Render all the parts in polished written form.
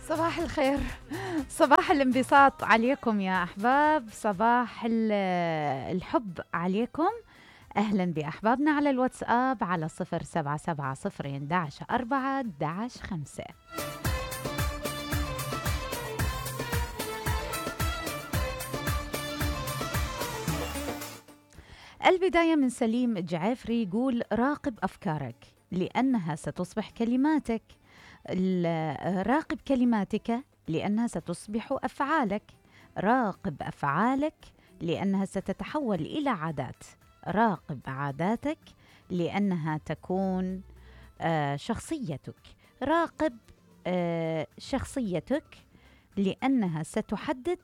صباح الخير، صباح الانبساط عليكم يا أحباب، صباح الحب عليكم. أهلا بأحبابنا على الواتساب على 0770 11 4 11 5. البداية من سليم الجعافري يقول راقب أفكارك لأنها ستصبح كلماتك، راقب كلماتك لأنها ستصبح أفعالك، راقب أفعالك لأنها ستتحول إلى عادات، راقب عاداتك لأنها تكون شخصيتك، راقب شخصيتك لأنها ستحدد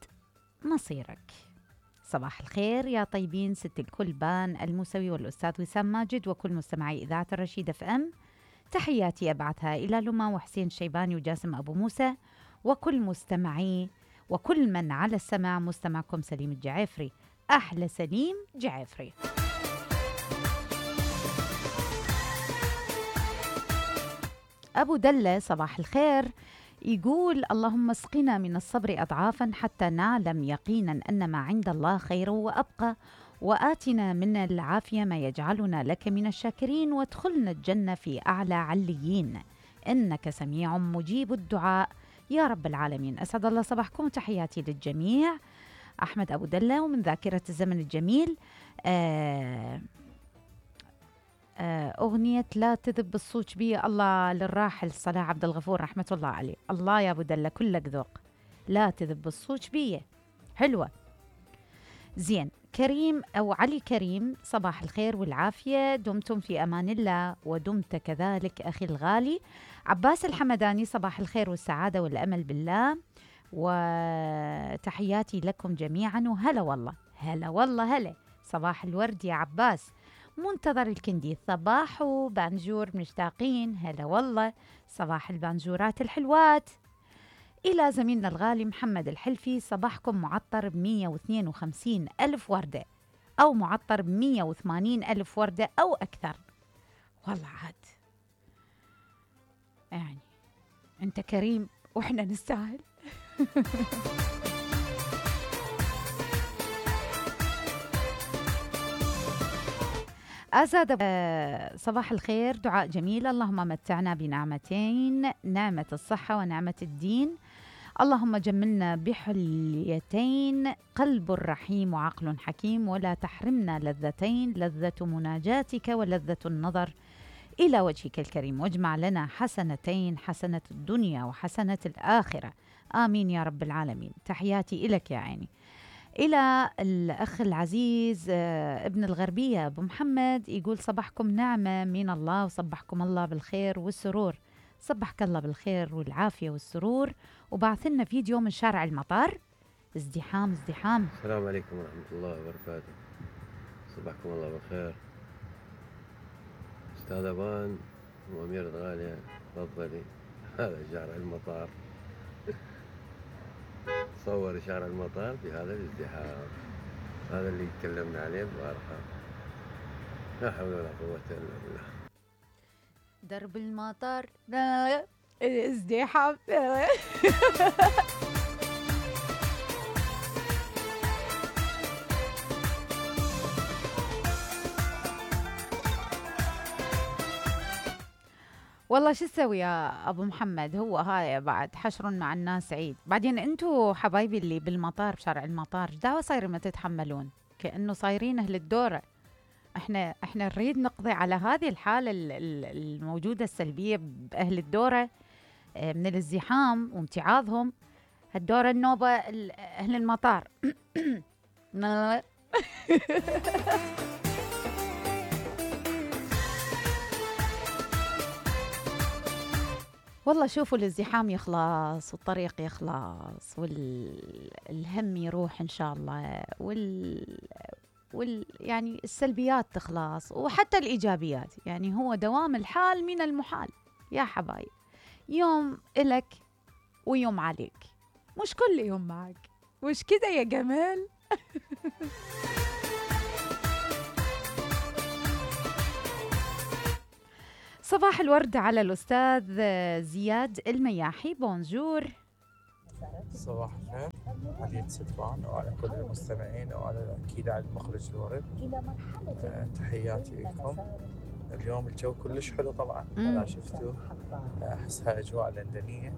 مصيرك. صباح الخير يا طيبين، ست الكل بان الموسوي والأستاذ وسام ماجد وكل مستمعي إذاعة الرشيد اف ام. تحياتي أبعثها إلى لما وحسين الشيباني وجاسم أبو موسى وكل مستمعي وكل من على السمع. مستمعكم سليم الجعافري، أحلى سليم جعافري. أبو دلة صباح الخير يقول اللهم اسقنا من الصبر أضعافا حتى نعلم يقينا أن ما عند الله خير وأبقى، وآتنا من العافية ما يجعلنا لك من الشاكرين، وادخلنا الجنة في أعلى عليين إنك سميع مجيب الدعاء يا رب العالمين. أسعد الله صباحكم وتحياتي للجميع. أحمد أبو دلة ومن ذاكرة الزمن الجميل أغنية لا تذب الصوت بي الله للراحل صلاح عبد الغفور رحمة الله عليه. الله يا أبو دلة كلك ذوق. لا تذب الصوت بي حلوة. زين كريم أو علي كريم صباح الخير والعافية، دمتم في أمان الله ودمت كذلك أخي الغالي. عباس الحمداني صباح الخير والسعادة والأمل بالله وتحياتي لكم جميعا. وهلا والله هلا والله هلا صباح الورد يا عباس. منتظر الكندي صباح بانجور مشتاقين، هلا والله صباح البانجورات الحلوات. إلى زميلنا الغالي محمد الحلفي صباحكم معطر ب152 ألف وردة أو معطر ب180 ألف وردة أو أكثر. والله عاد يعني أنت كريم وإحنا نستاهل. أزاد صباح الخير، دعاء جميل. اللهم متعنا بنعمتين، نعمة الصحة ونعمة الدين. اللهم جملنا بحليتين، قلب رحيم وعقل حكيم، ولا تحرمنا لذتين، لذة مناجاتك ولذة النظر إلى وجهك الكريم، واجمع لنا حسنتين، حسنة الدنيا وحسنة الآخرة، آمين يا رب العالمين. تحياتي إلك يا عيني. إلى الأخ العزيز ابن الغربية أبو محمد يقول صباحكم نعمة من الله وصبحكم الله بالخير والسرور. صبحك الله بالخير والعافية والسرور. وبعث لنا فيديو من شارع المطار، ازدحام ازدحام. السلام عليكم ورحمة الله وبركاته، صبحكم الله بالخير. أستاذ أبان وأميرة غالية تفضلي. هذا شارع المطار. صور شارع المطار بهذا الازدحام، هذا اللي تكلمنا عليه البارحة. لا حول ولا قوة إلا بالله. درب المطار ازدحام. والله شو تسوي يا أبو محمد، هو هاي بعد حشر مع الناس عيد. بعدين أنتوا حبايبي اللي بالمطار بشارع المطار دعوة صايرين ما تتحملون كأنه صايرين أهل الدورة. احنا نريد نقضي على هذه الحالة الموجودة السلبية بأهل الدورة من الازدحام وامتعاضهم. هالدورة النوبة أهل المطار. والله شوفوا الازدحام يخلص والطريق يخلص والهم يروح إن شاء الله يعني السلبيات تخلص وحتى الإيجابيات. يعني هو دوام الحال من المحال يا حبايب، يوم إلك ويوم عليك، مش كل يوم معك، مش كده يا جمال؟ صباح الورد على الأستاذ زياد المياحي، بونجور. صباح الخير علي ستفان وعلى كل المستمعين وعلى أكيد على المخرج الورد. تحياتي لكم. اليوم الجو كلش حلو طبعا ولا شفتوا، أحسها أجواء لندنية.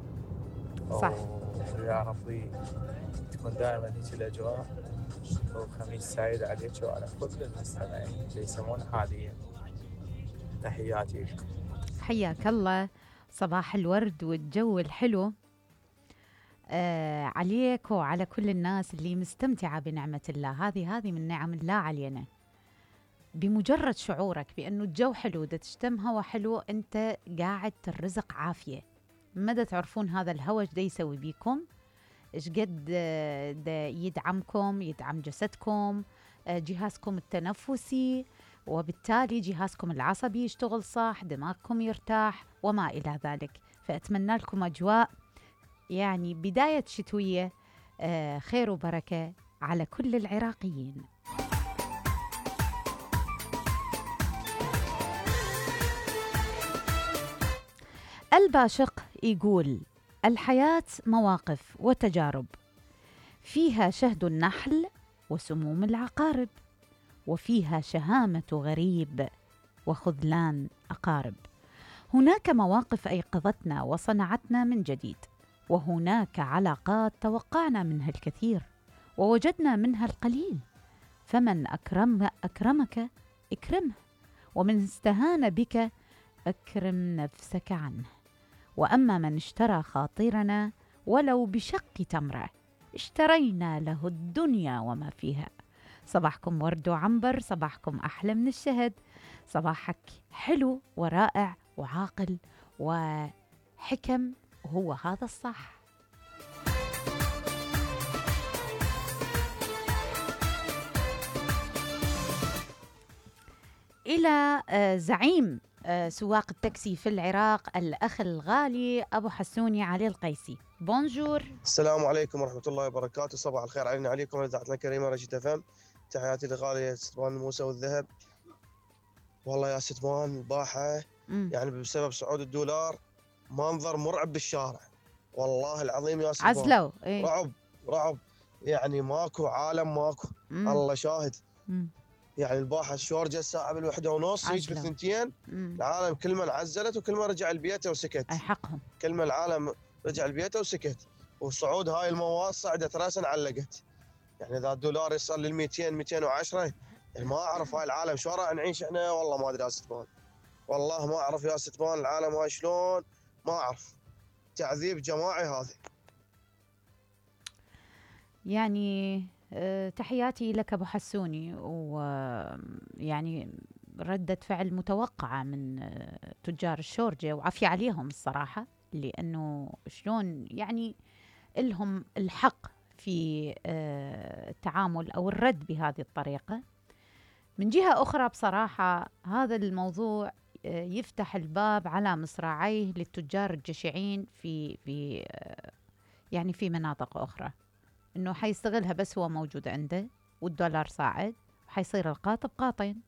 صح. ويا ربي تكون دائما هيك الأجواء، وخميس سعيد عليك وعلى كل المستمعين اللي يسمون حاليا. تحياتي لكم. حياك الله، صباح الورد والجو الحلو عليك وعلى كل الناس اللي مستمتعة بنعمة الله. هذه من نعم الله علينا. بمجرد شعورك بأنه الجو حلو، دا تشتم هوا حلو، أنت قاعد ترزق عافية. مدى تعرفون هذا الهوا ايش دا يسوي بيكم، ايش قد دا يدعمكم، يدعم جسدكم، جهازكم التنفسي، وبالتالي جهازكم العصبي يشتغل صح، دماغكم يرتاح وما إلى ذلك. فأتمنى لكم أجواء يعني بداية شتوية خير وبركة على كل العراقيين. الباشق يقول: الحياة مواقف وتجارب، فيها شهد النحل وسموم العقارب، وفيها شهامة غريب وخذلان أقارب. هناك مواقف أيقظتنا وصنعتنا من جديد، وهناك علاقات توقعنا منها الكثير ووجدنا منها القليل. فمن أكرمك اكرمه، ومن استهان بك أكرم نفسك عنه. وأما من اشترى خاطرنا ولو بشق تمرة، اشترينا له الدنيا وما فيها. صباحكم ورد وعنبر، صباحكم أحلى من الشهد، صباحك حلو ورائع وعاقل وحكم، وهو هذا الصح. إلى زعيم سواق التاكسي في العراق، الأخ الغالي أبو حسوني علي القيسي. بونجور. السلام عليكم ورحمة الله وبركاته. صباح الخير علينا عليكم إذاعتنا الكريمة رشيد FM. تحياتي لغالية ستمان موسى والذهب. والله يا ستمان الباحة يعني بسبب صعود الدولار منظر مرعب بالشارع، والله العظيم يا ستمان. عزلوا رعب يعني ماكو عالم ماكو. الله شاهد. يعني الباحة الشورجة الساعة بال1:30 هيك بالثنتين العالم كل من عزلت وكل ما رجع البيت وسكت. أي حقهم. كل ما العالم رجع البيت وسكت، وصعود هاي المواد صعدت راسا علقت. يعني اذا الدولار يصل لل 200 210 يعني ما اعرف هاي العالم شو راح نعيش احنا، والله ما ادري يا ستمان، والله ما اعرف يا ستمان العالم هاي شلون، ما اعرف. تعذيب جماعي هذا. يعني تحياتي لك أبو حسوني، ويعني ردة فعل متوقعة من تجار الشورجة، وعافية عليهم الصراحة، لأنه شلون يعني لهم الحق في التعامل أو الرد بهذه الطريقة. من جهة أخرى بصراحة هذا الموضوع يفتح الباب على مصراعيه للتجار الجشعين في يعني في مناطق أخرى، إنه حيستغلها بس هو موجود عنده والدولار صاعد، حيصير القاطب قاطين.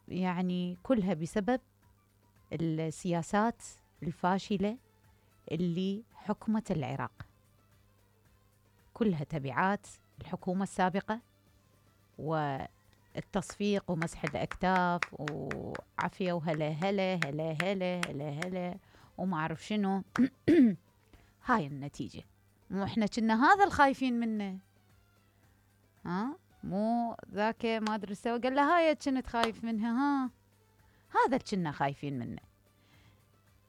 يعني كلها بسبب السياسات الفاشلة اللي حكمت العراق، كلها تبعات الحكومة السابقة والتصفيق ومسح الأكتاف وعافية وهلا هلا هلا هلا هلا هلا وما أعرف شنو. هاي النتيجة. مو إحنا كنا هذا الخايفين منه، مو ذاك ما أدري سوى قال له هاي كنت خايف منها، هذا كنا خايفين منه.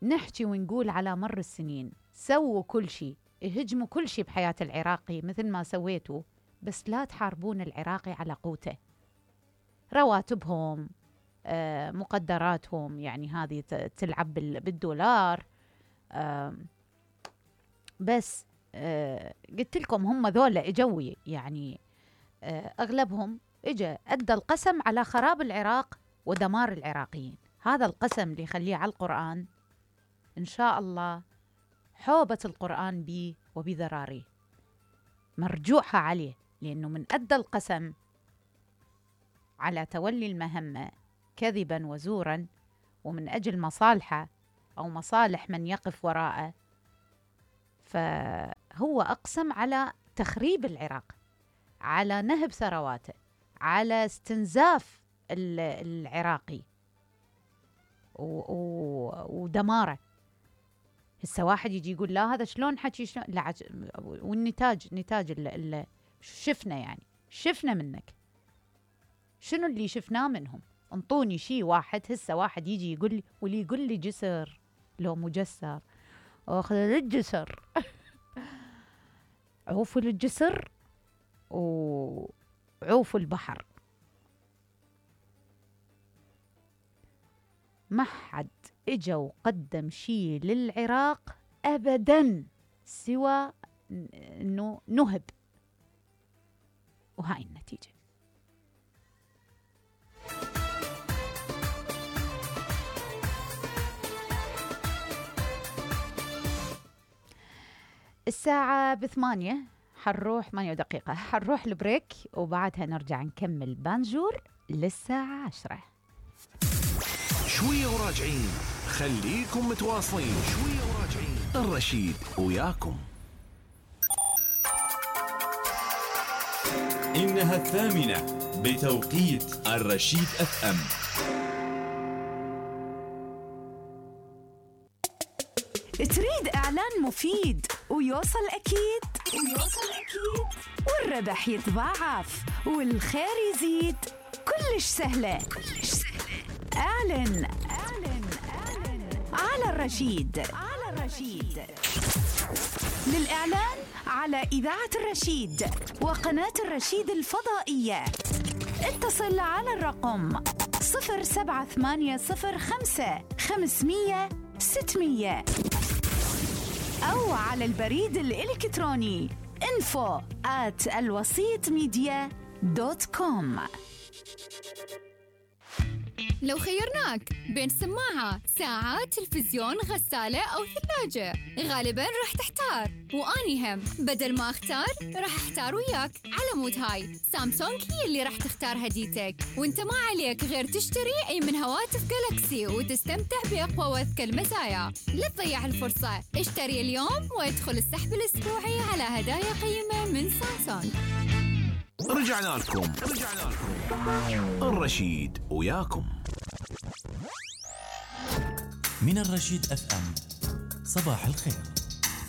نحكي ونقول على مر السنين سووا كل شيء، اهجموا كل شيء بحياة العراقي مثل ما سويتوا، بس لا تحاربون العراقي على قوته. رواتبهم، مقدراتهم، يعني هذه تلعب بالدولار. بس قلت لكم هم ذولا اجوي، يعني اغلبهم اجا ادى القسم على خراب العراق ودمار العراقيين. هذا القسم اللي يخليه على القرآن ان شاء الله حوبة القرآن بيه وبذراريه مرجوحة عليه، لأنه من أدى القسم على تولي المهمة كذبا وزورا ومن أجل مصالحه أو مصالح من يقف وراءه، فهو أقسم على تخريب العراق، على نهب ثرواته، على استنزاف العراقي ودماره. هسه واحد يجي يقول لا هذا شلون حكي، شلون لا والنتاج شفنا، يعني شفنا منك. شنو اللي شفناه منهم؟ انطوني شيء واحد. هسه واحد يجي يقول لي، واللي يقول لي جسر لو مجسر، اخذ الجسر عوفوا الجسر وعوفوا البحر. ما حد اجا وقدم شيء للعراق ابدا سوى انه نهب، وهاي النتيجة. الساعة 8 حنروح 8 دقيقة، حنروح البريك وبعدها نرجع نكمل بانجور للساعة 10. شوية وراجعين، خليكم متواصلين. شوية وراجعين، الرشيد وياكم. إنها 8 بتوقيت الرشيد FM. تريد إعلان مفيد ويوصل أكيد والربح يتضاعف والخير يزيد، كلش سهلة. اعلن على الرشيد. للإعلان على إذاعة الرشيد وقناة الرشيد الفضائية اتصل على الرقم 07805 500 600 أو على البريد الإلكتروني info@alwasitmedia.com. لو خيرناك بين سماعة، ساعة، تلفزيون، غسالة أو ثلاجة، غالباً راح تحتار، وأني هم بدل ما أختار راح أحتار وياك. على مود هاي سامسونج هي اللي راح تختار هديتك، وانت ما عليك غير تشتري أي من هواتف جالكسي وتستمتع بأقوى وأذكى المزايا. لا تضيع الفرصة، اشتري اليوم وادخل السحب الأسبوعي على هدايا قيمة من سامسونج. رجعنا لكم الرشيد وياكم. من الرشيد FM، صباح الخير.